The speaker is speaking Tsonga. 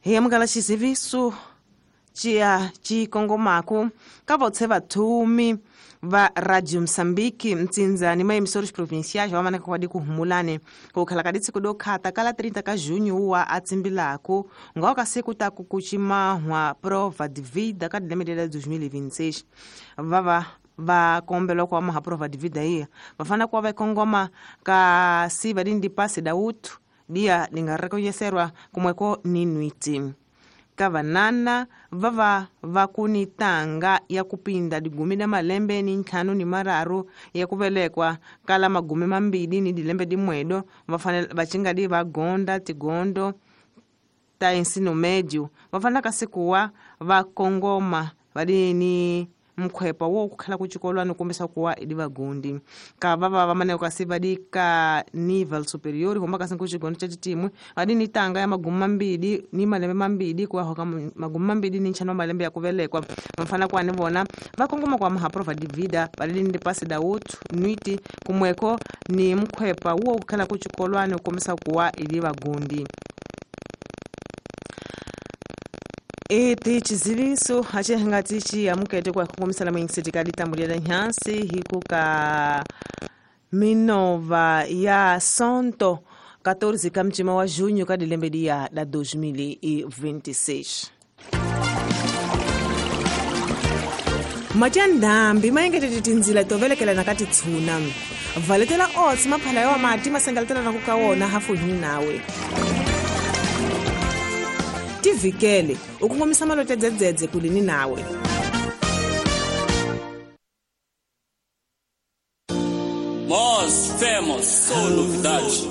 Hi amukela xiziviso ciya ci kongomaku ka votse vathumi va Radio Mozambique mtsinza ni maemissores provinciais va manaka kwadi ku humulane ku khala ka ditsiko do khata kala 30 ka junho wa atsimbilaku nga ka siku ta ku kuchimahwa prova de vida ka dilembe la 2026 vava va kombela ku amaha prova de vida iya va fana ku va kongoma ka siva dindi passe da utu dia linga reconhecerwa kumweko ni nwiti ka vanana vava va ku ni tanga ya kupinda digumi da malembe ni ntlhanu ni mararu ya ku velekwa kala magumi mambili ni dilembe dimwedo va fanele va cingadi va gonda tigondo ta ensino médio va fanele ka sikuwa va kongoma va di ni mkhwepa wo kukhala kuchikolwani kumbisa kuwa idi vagundi ka vava va maneko kasi vadi ka nível superior homba kasi kuchigondo cha chitimwe vadi ni tanga ya magumi mambili ni malembe mambili kuwa hoka magumi mambili ni ntlhanu wa malembe ya kuvelekwa vafana kuwa ni vona va kongoma kwa maha prova de vida vadi ni pasi da utu nwiti kumweko ni mkhwepa wo kukhala kuchikolwani kumbisa kuwa idi vagundi. Eti chiziviso acihangati ci amukete kwa kukomisala mwingiseti ka ditambulia da nhansi hiku ka minova ya sonto 14 ka mcima wa junho ka dilembe dia da 2026. Matya ndhambi maengetete tindzila to velekelana ka titshuna valetela otsi maphala ya wa mati masengeletela ku ka wona hafu hi nawe tivikele u kongomisa malote dzedzedze kulini nawe. Nós temos só novidade.